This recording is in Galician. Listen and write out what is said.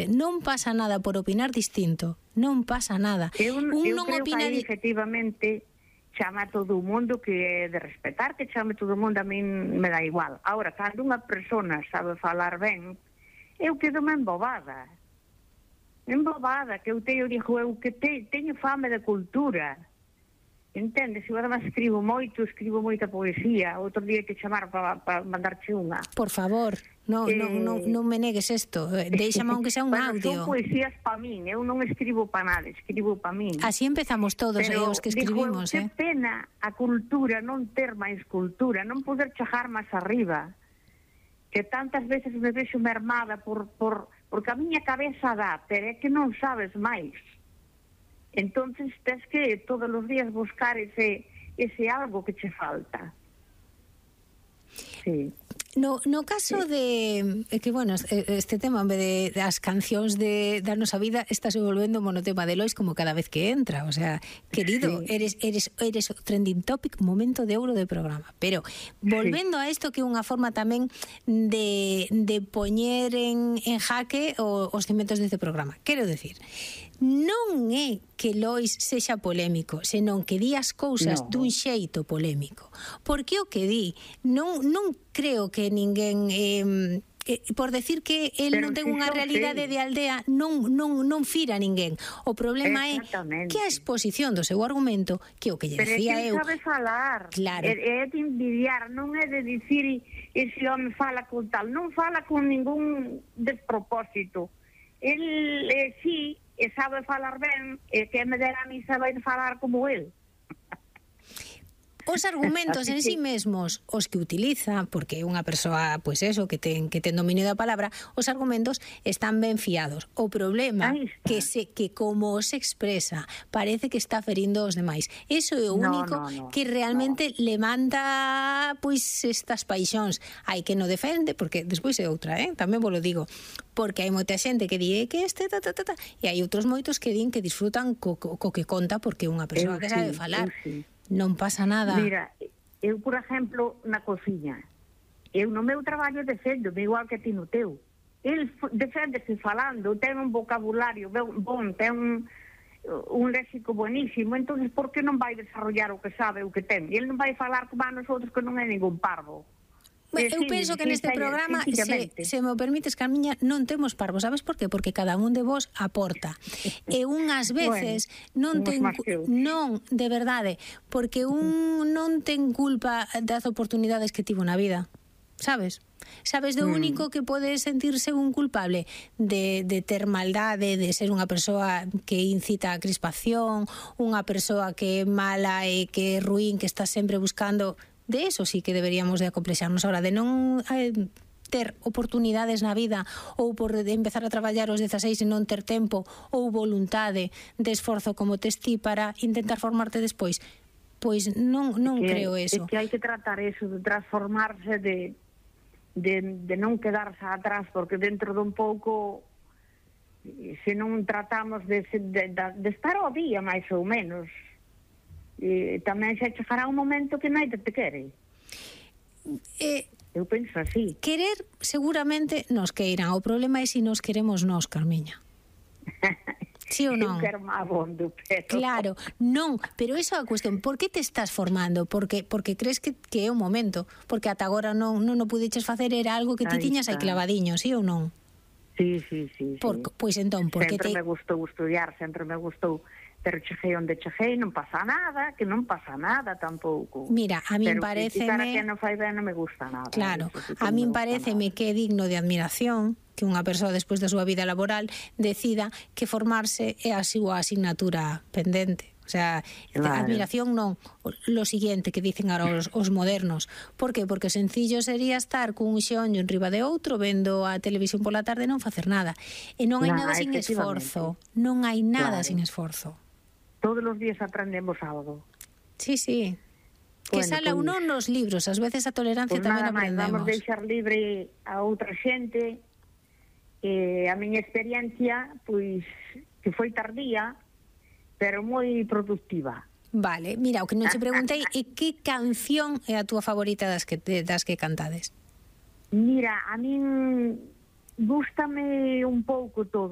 Non pasa nada por opinar distinto, non pasa nada. Eu creo que aí, efectivamente, chama a todo o mundo, que é de respetar, que chame todo o mundo, a min me dá igual. Ahora, cando unha persona sabe falar ben, eu quedo-me embobada, que eu digo eu que teño fame de cultura, entendes? Eu además escribo moita poesía. Outro día que chamar para mandarche unha. Por favor, non me negues isto, deixame aunque sea un audio. Son poesías para min, eu non escribo para nada, escribo para min. Así empezamos todos, os que escribimos. Pero que pena a cultura, non ter máis cultura, non poder chegar máis arriba, que tantas veces me vexo mermada porque a miña cabeza dá, pero é que non sabes máis. Entonces tens que todos os días buscar ese algo que che falta. Sí. No caso de que, bueno, este tema, en vez de as cancións da nosa vida, está se volvendo monotema de Lois como cada vez que entra. O sea, querido, eres o trending topic, momento de ouro de programa. Pero volvendo a isto, que é unha forma tamén de poñer en jaque os cimentos deste programa. Quero decir, non é que Lois sexa polémico, senón que di as cousas dun xeito polémico. Porque o que di, non creo que ninguén, por decir que el non ten unha realidade de aldea, non fira a ninguén. O problema é que a exposición do seu argumento, que o que lle decía eu... Pero é que sabe falar, claro. É de envidiar, non é de dicir ese home fala con tal, non fala con ningún despropósito. El sí, sabe falar ben, que me dera a mí saber falar como el. Os argumentos en sí mesmos, os que utiliza, porque é unha persoa, pois eso, que ten dominio da palabra, os argumentos están ben fiados. O problema que como os expresa, parece que está ferindo os demais. Eso é o único que realmente le manda, pois, estas paixóns. Hai que no defende, porque despois é outra, tamén vos lo digo, porque hai moita xente que di que e hai outros moitos que din que disfrutan co que conta, porque é unha persoa que sabe falar. Non pasa nada. Mira, eu, por exemplo, na cociña, eu no meu traballo defendo-me igual que ti no teu. El deféndese falando, ten un vocabulario bon, ten un léxico buenísimo, entonces por que non vai desarrollar o que sabe, o que ten? E el non vai falar como a nosotros, que non é ningún parvo. Eu penso que neste programa, se me permites, Carmiña, non temos parvos. Sabes por qué? Porque cada un de vos aporta. E unhas veces non, de verdade, porque un non ten culpa das oportunidades que tivo na vida. Sabes do único que pode sentirse un culpable de ter maldade, de ser unha persoa que incita a crispación, unha persoa que é mala e que é ruín, que está sempre buscando... De eso sí que deberíamos de acomplexarnos ahora, de non ter oportunidades na vida, ou por empezar a traballar aos 16 e non ter tempo, ou voluntade de esforzo como tes ti para intentar formarte despois. Pois non creo eso. É que hai que tratar eso, de transformarse, de non quedarse atrás, porque dentro dun pouco, se non tratamos de estar ao día, máis ou menos, tamén se chegará un momento que non te quere. Eu penso así. Querer seguramente nos queiran. O problema é se nos queremos nós, Carmiña. Sí ou non? Eu quero máis abondo, pero... Claro, non, pero esa é a cuestión. Por que te estás formando? Porque crees que é o momento. Porque ata agora non o pudiches facer, era algo que ti tiñas aí clavadiño, sí ou non? Sí. Pois entón, porque sempre me gustou estudiar, sempre me gustou, pero cheguei onde cheguei, non pasa nada, que non pasa nada tampouco. Mira, a min pareceme... Pero que non fai ben non me gusta nada. Claro, a min pareceme que é digno de admiración que unha persoa despois da súa vida laboral decida que formarse é a súa asignatura pendente. O sea, admiración non, lo siguiente que dicen ahora os modernos. Por qué? Porque o sencillo sería estar cun xeonllo en riba de outro, vendo a televisión pola tarde e non facer nada. E non hai nada sin esforzo. Non hai nada sin esforzo. Todos os días aprendemos algo. Sí. Que sala ou non nos libros, ás veces a tolerancia tamén aprendemos. Vamos deixar libre a outra xente. A miña experiencia, pois, que foi tardía, pero moi productiva. Vale, mira, o que non te preguntei é que canción é a túa favorita das que cantades? Mira, a min gústame un pouco todo.